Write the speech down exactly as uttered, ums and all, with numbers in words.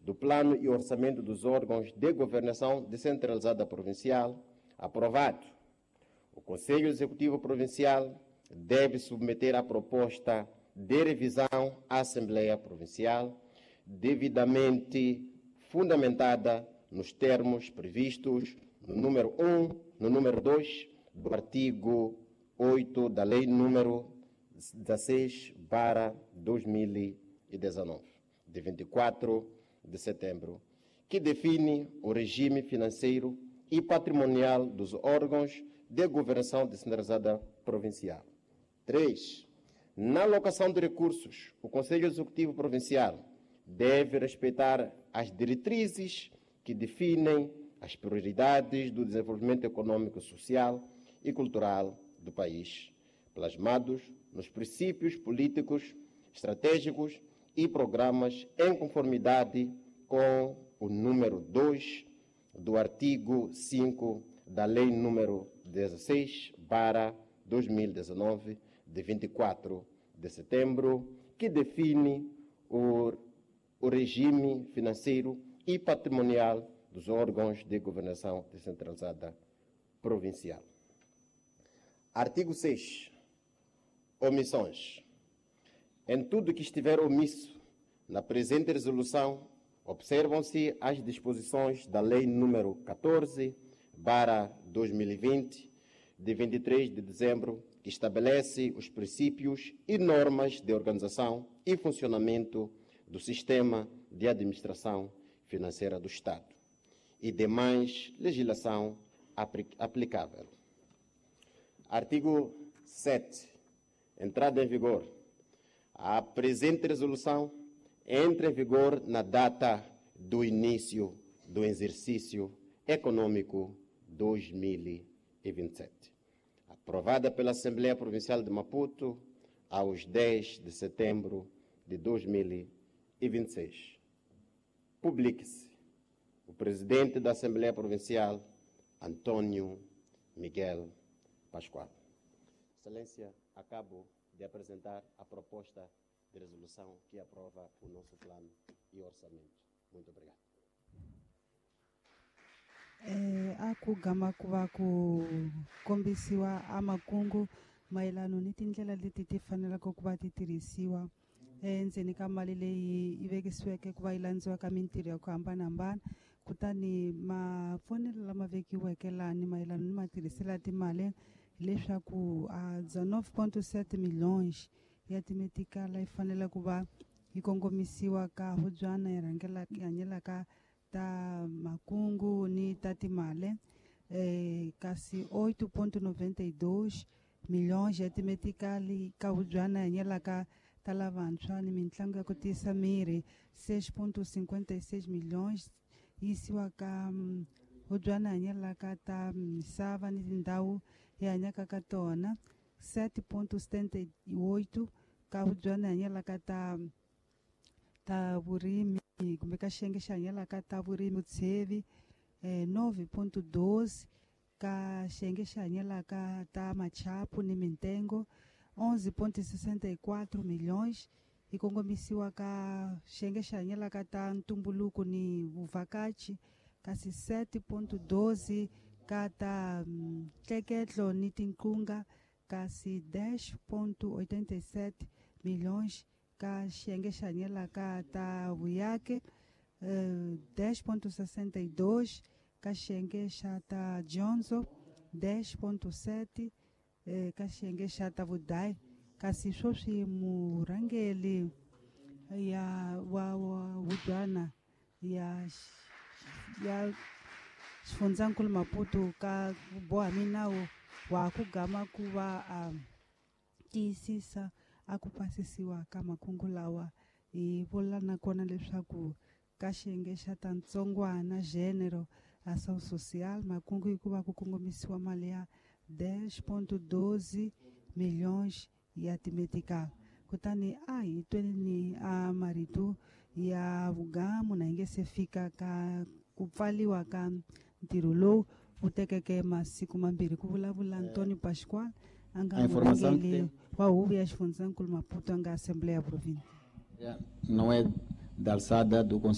do Plano e Orçamento dos Órgãos de Governação Descentralizada Provincial, aprovado. O Conselho Executivo Provincial deve submeter a proposta de revisão à Assembleia Provincial, devidamente fundamentada nos termos previstos no número um, no número dois do artigo oito da Lei número dezasseis barra dois mil e dezanove, de vinte e quatro de setembro, que define o regime financeiro e patrimonial dos órgãos de governação descentralizada provincial. três. Na alocação de recursos, o Conselho Executivo Provincial deve respeitar as diretrizes que definem as prioridades do desenvolvimento econômico, social e cultural do país, plasmados nos princípios políticos, estratégicos e programas em conformidade com o número dois do artigo cinco da Lei número dezasseis barra dois mil e dezanove, de vinte e quatro de setembro, que define o, o regime financeiro e patrimonial dos órgãos de governação descentralizada provincial. Artigo seis. Omissões. Em tudo que estiver omisso na presente resolução, observam-se as disposições da Lei número quatorze barra dois mil e vinte, de vinte e três de dezembro, que estabelece os princípios e normas de organização e funcionamento do sistema de administração financeira do Estado e demais legislação aplicável. Artigo sete. Entrada em vigor. A presente resolução entra em vigor na data do início do exercício econômico dois mil e vinte e sete. Aprovada pela Assembleia Provincial de Maputo aos dez de setembro de dois mil e vinte e seis. Publique-se o presidente da Assembleia Provincial, Antônio Miguel Pascoal. Excelência, acabo de apresentar a proposta de resolução que aprova o nosso plano e orçamento. Muito obrigado. Eh, a ku gama ku va ku kombisiwa a makungu mayelano ni tindlela leti ti faneleke ku va ti tirhisiwa endzeni ka mali leyi yi vekisiweke ku va yi landziwa ka mintirho ya ku hambanahambana. Kutani mavonelo lama vekiweke lani mayelano ni matirhiselo ya timali hileswaku a dezenove ponto sete milhões ya timetikala yi fanele ku va yi kongomisiwa ka hubyana yi rhangela yi hanyelaka ta makungu ni ta timali, eh, kasi oito ponto noventa e dois milhões ya timetikali ka hubyana yi hanyelaka ta lavantshwa ni mitlangu ya ku tiyisa miri, seis ponto cinquenta e seis milhões yisiwa ka hubyana yi hanyelaka ta misava ni tindhawu yi hanyaka ka tona, sete ponto setenta e oito ka hubyana yi hanyelaka ta ta vurimi kumbe ka xiyenge xi hanyelaka ta vurimi vutshevi, eh, nove ponto doze ka xiyenge xi hanyelaka ta machapu ni mintengo, onze ponto sessenta e quatro milhões yi kongomisiwa ka xiyenge xi hanyelaka ta ntumbuluko ni vuvhakachi, kasi sete ponto doze ka ta ntleketlo ni tinqunga, kasi dez ponto oitenta e sete milhões ka xiyenge xi hanyelaka ta vuyake, eh, dez ponto sessenta e dois ka xiyenge xa ta dyondzo, dez ponto sete eh, ka xiyenge xa ta vudayi. Kasi sweswi murhangeri ya wa wa hubyana ya ya xifundzankulu Maputo ka boha minawu wa ku gama ku va a tiyisisa a ku pasisiwa ka makungu lawa. Hi vula nakona leswaku ka xiyenge xa ta ntsongwana gênero ação social makungu hi ku va ku kongomisiwa mali ya dez ponto doze milhões ya timetikala. Kutani a hi tweni a marito ya vugamu na hi nge se fika ka ku pfaliwa ka ntirho lowu wu tekeke masiku mambirhi ku vulavula Antônio Pascoal a nga murhangeri wa huvo ya xifundzankulu Maputo a nga Assembleia Provincial. Não é da alçada do Conselho